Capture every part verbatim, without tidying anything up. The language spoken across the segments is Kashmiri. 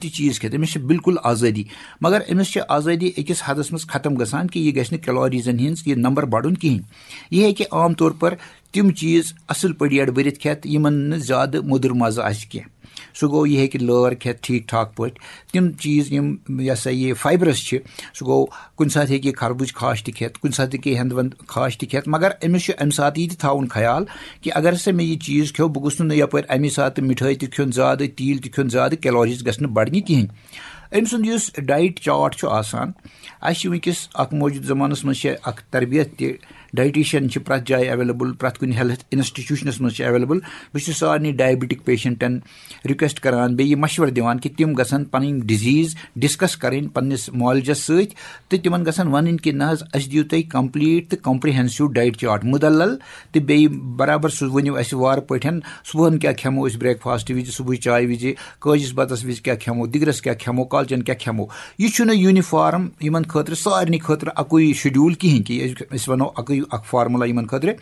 تہِ چیٖز کھٮ۪تھ، أمِس چھِ بالکل آزٲدی۔ مگر أمِس چھِ آزٲدی أکِس حدس منٛز ختم گژھان کہِ یہِ گژھِ نہٕ کیلوریٖزن ہِنٛز یہِ نمبر بڑُن کِہیٖنۍ۔ یہِ ہیٚکہِ عام طور پر تِم چیٖز اصل پٲٹھۍ یڑ بٔرِتھ کھٮ۪تھ، یِمن نہٕ زیادٕ موٚدُر مزٕ آسہِ کینٛہہ۔ سُہ گوٚو، یہِ ہیٚکہِ لٲر کھٮ۪تھ ٹھیٖک ٹھاک پٲٹھۍ۔ تِم چیٖز یِم، یہِ ہسا یہِ فایبرس چھِ، سُہ گوٚو، کُنہِ ساتہٕ ہیٚکہِ یہِ خربوٗز خاش تہِ کھٮ۪تھ، کُنہِ ساتہٕ ہیٚکہِ یہِ ہٮ۪نٛدٕ وٮ۪نٛدٕ خاش تہِ کھٮ۪تھ، مگر أمِس چھُ اَمہِ ساتہٕ یہِ تہِ تھاوُن خیال کہِ اگر ہسا مےٚ یہِ چیٖز کھیوٚو، بہٕ گوٚژھ نہٕ یپٲرۍ اَمی ساتہٕ مِٹھٲے تہِ کھیوٚن زیادٕ، تیٖل تہِ کھیوٚن زیادٕ، کیلوریٖز گژھِ نہٕ بڑنہِ کِہیٖنۍ۔ أمۍ سُنٛد یُس ڈایٹ چارٹ چھُ آسان، اَسہِ چھِ وٕنکیٚس اَکھ موجوٗدٕ زمانَس منٛز چھِ اَکھ تربیت تہِ، ڈایٹیشن چھِ پرٛٮ۪تھ جایہِ ایویلیبل، پرٛٮ۪تھ کُنہِ ہیلتھ انسٹیٹیوشنس منٛز چھِ ایویلیبل۔ بہٕ چھُس سارنٕے ڈایبٹک پیشنٹن رِکویسٹ کران، بیٚیہِ یہِ مشورٕ دِوان کہِ تِم گژھن پنٕنۍ ڈِزیٖز ڈسکس کرٕنۍ پننِس معالجس سۭتۍ، تہٕ تِمن گژھن ونٕنۍ کہِ نہ حظ، اسہِ دِیِو تُہۍ کمپلیٖٹ تہٕ کمپریہنسو ڈایٹ چارٹ مُدلل، تہٕ بیٚیہِ برابر سُہ ؤنِو اسہِ وارٕ پٲٹھۍ، صبحن کیٛاہ کھٮ۪مو أسۍ بریک فاسٹ وِزِ، صبحٕچ چاے وِزِ، کٲجِس بتس وِزِ کیٛاہ کھٮ۪مو، دِگرس کیٛاہ کھٮ۪مو، کالچن کیٛاہ کھٮ۪مو۔ یہِ چھُنہٕ یونیفارم یِمن خٲطرٕ، سارنٕے خٲطرٕ اکُے شیڈول کِہیٖنۍ کہِ أسۍ، أسۍ ونو اکُے اکھ فارمولا یِمن خٲطرٕ۔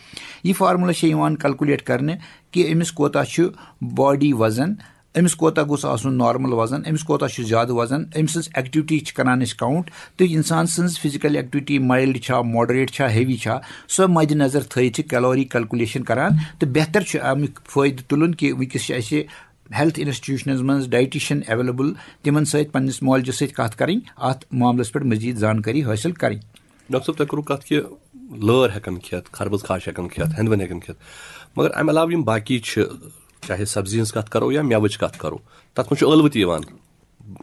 یہِ فارمولا چھِ یِوان کیلکولیٹ کرنہٕ کہِ أمِس کوتاہ چھُ باڈی وزن، أمِس کوتاہ گوٚژھ آسُن نارمل وزن، أمِس کوتاہ چھُ زیادٕ وزن، أمۍ سٕنٛز ایکٹیویٹی چھِ کران أسۍ کاؤنٹ، تہٕ اِنسان سٕنٛز فزیکل ایکٹیویٹی مائلڈ چھا، ماڈریٹ چھا، ہیوی چھا، سۄ مد نظر تھٲوِتھ چھِ کیلوری کیلکولیشن کران، تہٕ بہتر چھُ اَمیُک فٲیدٕ تُلُن کہِ وٕنکیٚس چھِ اَسہِ ہیلتھ انسٹیٹیوشنز منٛز ڈائٹیشن ایویلیبل، تِمن سۭتۍ پننِس معالجس سۭتۍ کتھ کرٕنۍ، اتھ معاملس پٮ۪ٹھ مزید زانکٲری حٲصِل کرٕنۍ۔ ڈاکٹر صٲب، تۄہہِ کوٚروٕ کَتھ کہِ لٲر ہٮ۪کَن کھٮ۪تھ، خربٕز خاش ہٮ۪کَن کھٮ۪تھ، ہٮ۪نٛدوٮ۪نٛد ہٮ۪کَن کھٮ۪تھ، مگر اَمہِ علاوٕ یِم باقی چھِ، چاہے سبزی ہٕنٛز کَتھ کَرو یا مٮ۪وٕچ کَتھ کَرو، تَتھ منٛز چھُ ٲلوٕ تہِ یِوان،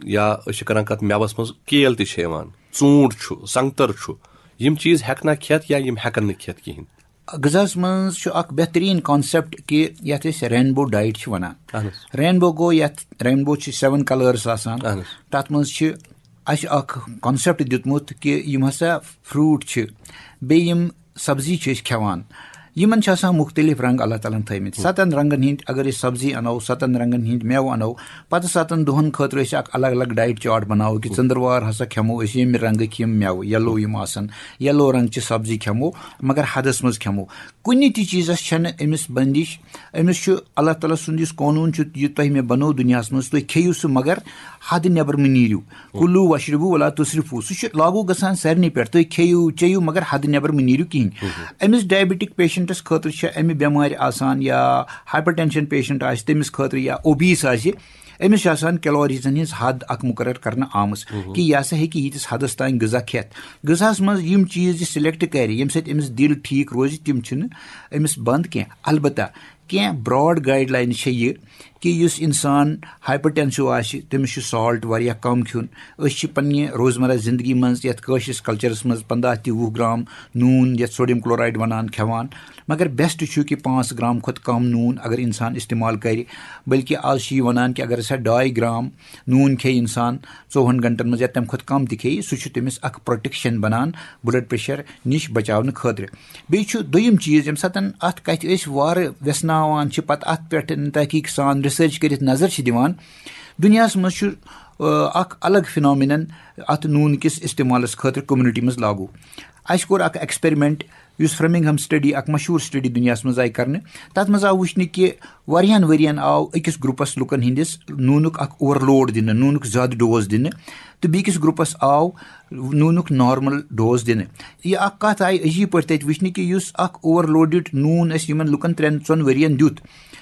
یا أسۍ چھِ کَران کَتھ مٮ۪وَس منٛز، کیل تہِ چھِ یِوان، ژوٗنٛٹھ چھُ، سنٛگتر چھُ، یِم چیٖز ہٮ۪کنا کھٮ۪تھ یا یِم ہٮ۪کَن نہٕ کھٮ۪تھ کِہیٖنۍ؟ غذاہس منٛز چھُ اکھ بہتریٖن کانسیپٹ کہِ یتھ أسۍ رینبو ڈایٹ چھِ ونان۔ اہن حظ۔ رینبو گوٚو، یتھ رینبو چھِ سیون کلٲرس آسان۔ اہن حظ۔ تتھ منٛز چھِ اسہِ اکھ کانسیپٹ دیُتمُت کہِ یِم ہسا فروٹ چھِ، بیٚیہِ یِم سبزی چھِ أسۍ کھٮ۪وان، یِمن چھِ آسان مُختٔلِف رنٛگ اللہ تعالیٰ ہن تھٲومٕتۍ۔ ستن رنٛگن ہٕنٛدۍ اگر أسۍ سبزی انو، ستن رنٛگن ہٕنٛدۍ مٮ۪وٕ انو، پتہٕ ستن دۄہن خٲطرٕ أسۍ اکھ الگ الگ ڈایٹ چارٹ بناوو کہِ ژٔنٛدٕروار ہسا کھٮ۪مو أسۍ ییٚمہِ رنٛگٕکۍ یِم مٮ۪وٕ، یلو یِم آسن، یلو رنٛگ چہِ سبزی کھٮ۪مو، مگر حدس منٛز کھٮ۪مو۔ کُنہِ تہِ چیٖزس چھنہٕ أمِس بندش۔ أمِس چھُ اللہ تعالیٰ سُنٛد یُس قونوٗن چھُ، یہِ تۄہہِ مےٚ بنوو دُنیاہس منٛز، تُہۍ کھیٚیِو سُہ، مگر حد نٮ۪بر مہٕ نیٖرِو۔ کُلوٗ وشربوٗ ولا تُسرِفوٗ، سُہ چھُ لاگوٗ گژھان سارنٕے پٮ۪ٹھ، تُہۍ کھیٚیِو چیٚیِو، مگر حد نٮ۪بر مہٕ نیٖرِو کِہیٖنۍ۔ أمِس ڈایبٹک پیشنٹس خٲطرٕ چھِ امہِ بٮ۪مارِ آسان، یا ہایپر ٹینشن پیشنٹ آسہِ تٔمِس خٲطرٕ، یا اوبیس آسہِ، أمِس چھِ آسان کیلوریٖزن ہٕنٛز حد اکھ مُقرر کرنہٕ آمٕژ کہِ یہِ ہسا ہیٚکہِ ییٖتِس حدس تام غذا کھٮ۪تھ۔ غذاہس منٛز یِم چیٖز یہِ سلیکٹ کرِ، ییٚمہِ سۭتۍ أمِس دِل ٹھیٖک روزِ، تِم چھِنہٕ أمِس بنٛد کینٛہہ۔ البتہ کینٛہہ براڈ گایڈ لاینہٕ چھےٚ یہِ کہِ یُس انسان ہایپر ٹینسو آسہِ، تٔمِس چھُ سالٹ واریاہ کم کھیوٚن۔ أسۍ چھِ پننہِ روزمرہ زندگی منٛز یتھ کٲشرِس کلچرس منٛز پنٛداہ تہِ وُہ گرام نوٗن، یتھ سوڈیم کلورائیڈ ونان، کھٮ۪وان، مگر بیسٹ چھُ کہِ پانٛژھ گرام کھۄتہٕ کم نوٗن اگر انسان استعمال کرِ۔ بلکہِ آز چھِ یہِ ونان کہِ اگر ہسا ڈاے گرام نوٗن کھیٚیہِ انسان ژوٚوُہن گھنٹن منٛز یا تمہِ کھۄتہٕ کم تہِ کھیٚیہِ، سُہ چھُ تٔمِس اکھ پروٹیکشن بنان بلڈ پریشر نِش بچاونہٕ خٲطرٕ۔ بیٚیہِ چھُ دوٚیِم چیٖز، ییٚمہِ ساتہٕ اتھ کتھِ أسۍ وارٕ ویژھناوان چھِ، پتہٕ اتھ پٮ۪ٹھ تحقیق سان ریسرچ کٔرِتھ نظر چھِ دِوان، دُنیاہس منٛز چھُ، آ، اکھ الگ فینومینن اتھ نوٗن کِس استعمالس خٲطرٕ کمیونٹی منٛز لاگوٗ۔ اسہِ کوٚر اکھ ایکسپیرمنٹ، یُس فرمنگہم سٹڈی، اکھ مشہوٗر سٹڈی دُنیاہس منٛز آیہِ کرنہٕ، تتھ منٛز آو وٕچھنہٕ کہِ واریاہن ؤرین آو أکِس گروپس لُکن ہٕنٛدِس نوٗنُک اکھ اوور لوڈ دِنہٕ، نوٗنُک زیادٕ ڈوز دِنہٕ، تہٕ بیٚکِس گروپس آو نوٗنُک نارمل ڈوز دِنہٕ۔ یہِ اکھ کتھ آیہِ عجیب پٲٹھۍ تتہِ وٕچھنہٕ کہِ یُس اکھ اوور لوڈڈ نوٗن اسہِ یِمن لُکن ترٛٮ۪ن ژۄن ؤرین دیُت،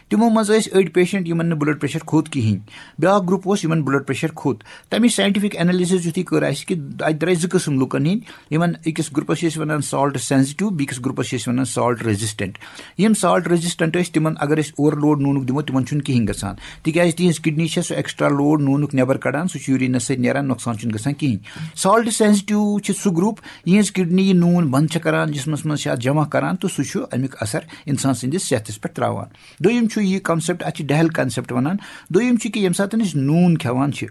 تِمو منٛز ٲسۍ أڑۍ پیشنٹ یِمن نہٕ بلڈ پریشر کھوٚت کِہینۍ، بیاکھ گروپ اوس یِمن بلڈ پریشر کھوٚت۔ تَمِچ ساینٹیفک انالیسز یُتھُے کٔر اَسہِ کہِ اَتہِ درٛاے زٕ قٕسم لُکن ہٕنٛدۍ، یِمن أکِس گروپس چھِ أسۍ وَنان سالٹ سینسٹیو، بیٚکِس گروپس چھِ أسۍ وَنان سالٹ ریزسٹنٹ۔ یِم سالٹ ریزسٹنٹ ٲسۍ، تِمن اگر أسۍ اوور لوڈ نوٗنُک دِمو، تِمن چھُنہٕ کِہینۍ گژھان، تِکیازِ تِہنٛز کڈنی چھےٚ سُہ ایکسٹرا لوڈ نوٗنُک نٮ۪بر کڑان، سُہ چھُ یوٗریٖنس سۭتۍ نیران، نۄقصان چھُنہٕ گژھان کِہینۍ۔ سالٹ سینسٹیو چھِ سُہ گروپ، یِہنٛز کڈنی یہِ نوٗن بند چھےٚ کران، جسمس منٛز چھِ اتھ جمع کران، تہٕ سُہ چھُ امیُک اثر انسان سٕنٛدِس صحتس پٮ۪ٹھ تراوان۔ دوٚیِم چھُ یہِ کانسیپٹ، اتھ چھِ ڈہل کانسیپٹ ونان۔ دوٚیِم چھُ کہِ ییٚمہِ ساتہٕ أسۍ نوٗن کھٮ۪وان چھِ،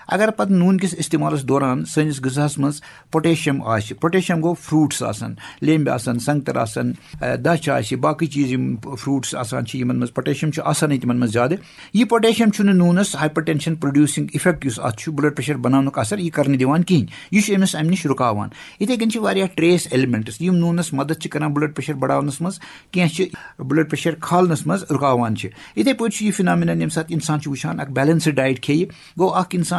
اگر پتہٕ نوٗن کِس استعمالس دوران سٲنِس غذاہس منٛز پوٹیشیم آسہِ، پوٹیشیم گوٚو فروٹس آسن، لیمبۍ آسن، سنگتر آسن، اہ، دچھ آسہِ، باقٕے چیٖز یِم فروٹس آسان چھِ، یِمن منٛز پوٹیشیم چھُ آسانٕے تِمن منٛز زیادٕ۔ یہِ پوٹیشیم چھُنہٕ نوٗنس ہایپر ٹینشن پروڈیوسنگ افیکٹ یُس اتھ چھُ، بلڈ پریشر بناونُک اثر، یہِ کرنہٕ دِوان کِہینۍ۔ یہِ چھُ أمِس امہِ نِش رُکاوان۔ یِتھے کٔنۍ چھِ واریاہ ٹریس ایلیمنٹس، یِم نوٗنس مدد چھِ کران بلڈ پریشر بڑاونس منٛز، کینٛہہ چھِ بلڈ پریشر کھالنس منٛز رُکاوان چھِ۔ یِتھے پٲٹھۍ چھُ یہِ فینامینن، ییٚمہِ ساتہٕ انسان چھُ وٕچھان اکھ بیلنسڈ ڈایٹ کھیٚیہِ، گوٚو اکھ انسان